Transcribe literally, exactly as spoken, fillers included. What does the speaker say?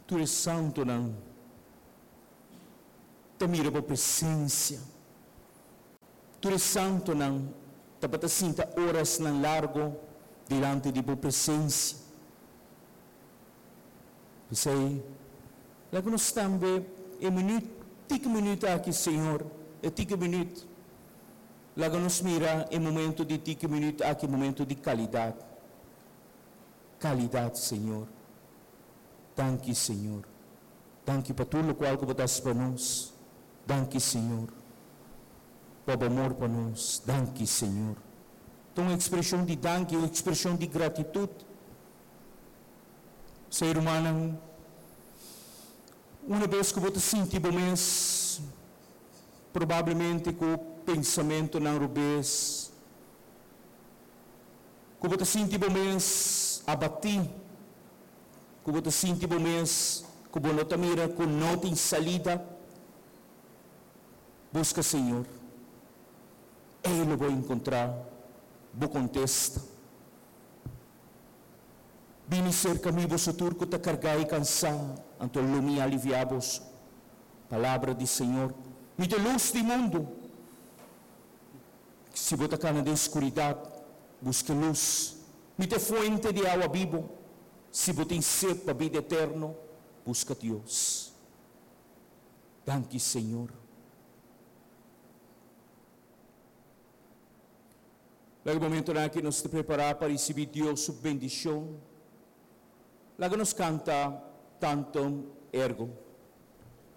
Tur e santonan ta mira bo presencia. Tur e santonan tabata sinta orasnan largo dilanti di bo presencia. P'esei, laga nos tambe e minuut, tiki minuut aki, Señor, e tiki minuut, laga nos mira e momento di tiki minuut aki, momento di calidad. Calidad, Señor. Danki, Señor. Danki pa tur locual cu Bo ta haci pa nos. Danki, Señor, pa Bo amor pa nos. Danki, Señor. Ta un expresion di danki, un expresion di gratitud. Ser humano, una bes cu bo ta sinti bo mes probablemente cu pensamentonan robes, cu bo ta sinti bo mes abati, cu bo ta sinti bo mes cu bo no ta mira cu no tin salida, busca Señor. E lo bo encontra bo contesta. Bini cerca mi, boso tur cu ta carga y cansa, anto lo mi alivia boso. Palabra di Señor. Mi ta luz di mundo. Si bo ta cana den scuridad, busca luz. Mi ta fuente di awa bibo. Si bo tin sed pa bida eterno, busca Dios. Danki, Señor. Laga e momentonan aki nos ta prepará pa risibí Dios su bendishon. Laga nos kanta Tantum Ergo.